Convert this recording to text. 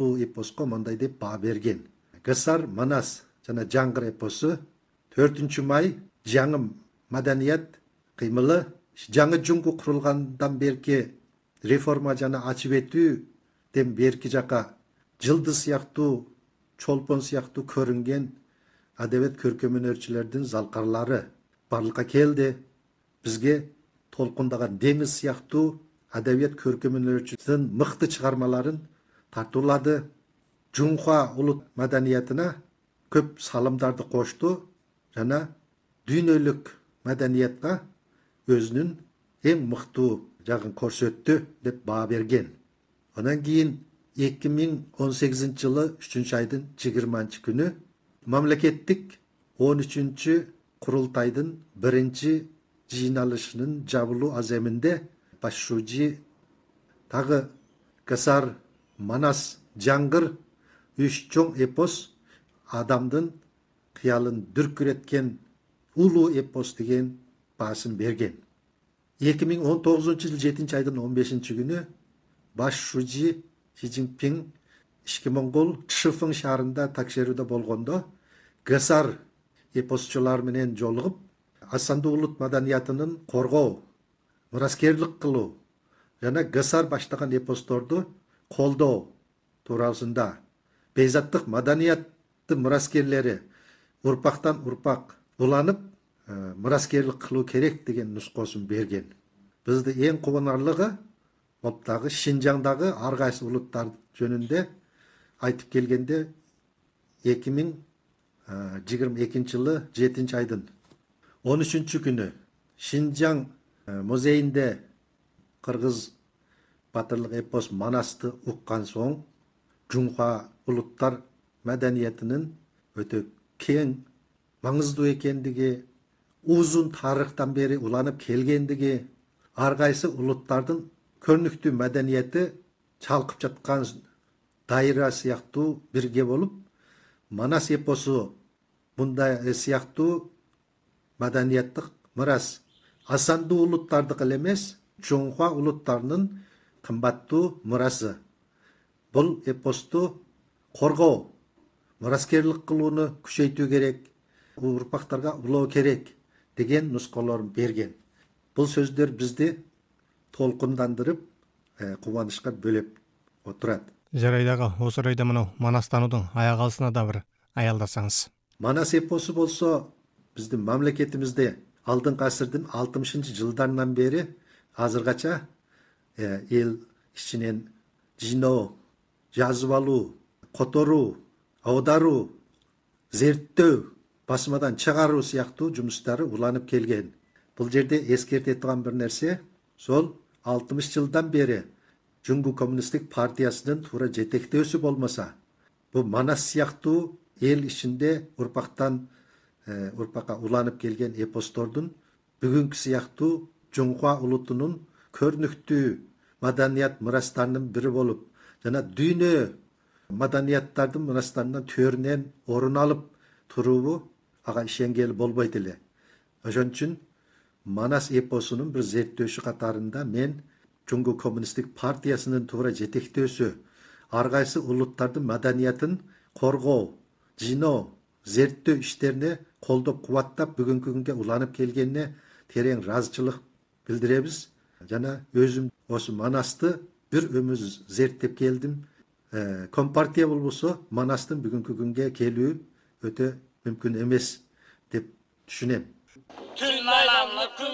Бул эпоско мындай деп баа берген. Гасар, Манас жана Жаңгыр эпосу 4 май жаңы маданият кыймылы жаңы жуңгу курулгандан берки реформа жана ачып этүүден берки жака жылдыз сыяктуу, чолпон сыяктуу көрүнген адебият көркөм өнөрчүлөрдүн залкарлары барлыкка келди. Бизге толкундаган деңиз сыяктуу адебият көркөм өнөрчүлөрдүн мыкты чыгармаларын тартуулады. Жунхва улут маданиятына көп салымдарды кошту жана дүйнөлүк маданиятка өзүнүн эң мыктуу жагын көрсөттү деп баа берген. Анан кийин 2018 жылы 3 айдын 20 күнү мамлекеттик 13 курултайдын 1 жыйналышынын жабылуу аземинде башчы тагы Гасар, Манас, Жаңгыр 3 чоң эпос адамдын кыялын дүркүреткен улуу эпос деген баасын берген. 2019 жыл 7 айдын 15 күнү башчы Си Цзиньпин Ички Моңгол Чшифың шаарында текшерүүдө болгондо Гасар эпосчулар менен жолугуп, Асандуу улут маданиятынын коргоо, мураскерлик кылуу жана Гасар баштаган эпосторду колдоо туурасында бейзаттык маданияттын мураскерлери урпактан урпак уланып, мураскерлик кылуу керек деген нускосун берген. Бизди эң кубанарлыгы дагы Шинжаңдагы ар кайсы улуттар жөнүндө айтып келгенде 2022 жылы 7 айдын 13 күнү Шинжаң музейинде кыргыз батырлык эпос Манасты уккан соң Жунхва улуттар маданиятынын өтө кең, маңыздуу экендиги, узун тарыхтан бери уланып келгендиги, ар кайсы улуттардын көрүнүктүү маданияты чалкып жаткан дайра сыяктуу бирге болуп, Манас эпосу мындай сыяктуу маданияттык мурас Асандуу улуттардыкы эле эмес, Жунхва улуттарынын кымбаттуу мурасы. Бул эпосту коргоо, мураскерлик кылууну күчөйтүү керек, урпактарга улоо керек деген нускаларын берген. Бул сөздөр бизди толкундандырып, кубанычка бөлөп отурат. Жарайдагы осы орайда мына Манас таануудун аяк алысына да бир аялдасаңыз. Манас эпосу болсо биздин мамлекетибизде алдыңкы асырдын 60 жылдарынан бери азыргача эл ичинен жыйноо, жазып алуу, которуу, аударуу, зерттөө, басмадан чыгаруу сыяктуу жумуштары уланып келген. Бул жерде эскерте турган бир нерсе, сол 60 жылдан бери Жуңгу коммунисттик партиясынын туура жетектөөсү болмаса, бул Манас сыяктуу эл ичинде урпактан урпакка уланып келген эпостордун бүгүнкү сыяктуу Жунхва улутунун көрүнүктүү маданият мурастарынын бири болуп, жана дүйнө маданияттардын мурастарынан төрүнөн орун алып туруубу ага ишенгели болбойт эле. Ошон үчүн Манас эпосунун бир зерттөөчү катарында мен Жуңгу коммунисттик партиясынын туура жетектөөсү ар кайсы улуттардын маданиятын коргоо, жыйноо, зерттөө иштерине колдоп кубаттап бүгүнкү күнгө уланып келгенине терең ыраазычылык билдиребиз. Жана өзүм осы Манасты бир өмүр зерттеп келдим. Компартия болбосо Манастын бүгүнкү күнгө келүү өтө мүмкүн эмес деп түшүнөм.